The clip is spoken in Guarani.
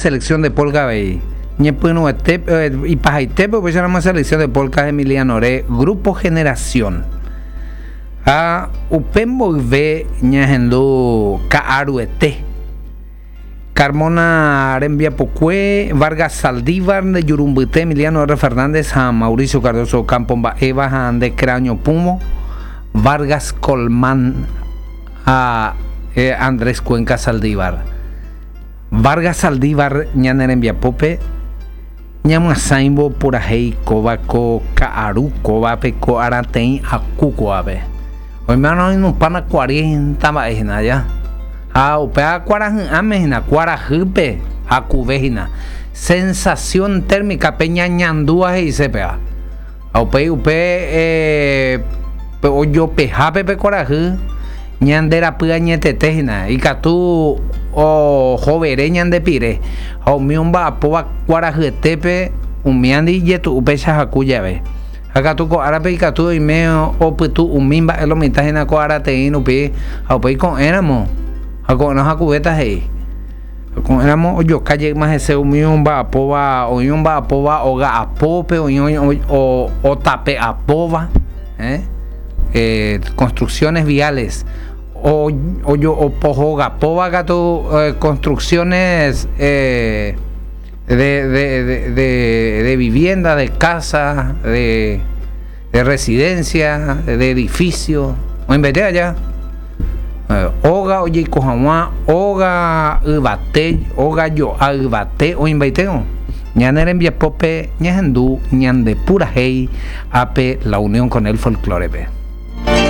selección de polka avei. Ñepyrũete, ipahaitépe upéicharamo selección de polka Emilianore Grupo Generación. Ha upe mboyve ñahendu ka'aruete. Carmona rembiapokue, Vargas Saldívar, nde juru mbyte, Emiliano R. Fernández ha Mauricio Cardozo Ocampo mba'éva ha nde kráño pũvo, Vargas Colmán ha Andrés Cuenca Saldívar. Vargas Saldívar ñane rembiapópe ñamyasãivo purahéi kóva ko ka'aru kóvape ko arateĩ aku kóvape. Oimérõ oinupãna cuarenta mba'e hína aja. Ha upéva kuarahy'ãme hína, kuarahýpe hakuve hína. Sensación térmica pe ñañandúva he'ise péva. Ha upéi upe pe ojopehápe pe kuarahy ñande rapy añetete hína, ikatu ohovere ñande pire. Ha umi omba'apóva kuarahyetépe umíandi ijetu'u péicha haku jave. Ha katu ko árape ikatu oime opytu umi mba'e lo mitã hína ko arateĩ rupi ha upéi ko'ẽramo ha ko'ẽrõ hakuvéta he'i. Ko'ẽramo ojoka jeýma hese umi omba'apóva, oĩ omba'apóva óga apópe, oĩ otape apóva, construcciones viales, opohogapóva katu construcciones de vivienda, de casa, de residencia, de edificio, oĩmbaite aja. Óga ojeiko hag̃ua, óga yvate, óga jo'a yvate oĩmbaitérõ. Ñane rembiapópe ñahendu ñande purahéi ápe La Unión con el Folklore-pe.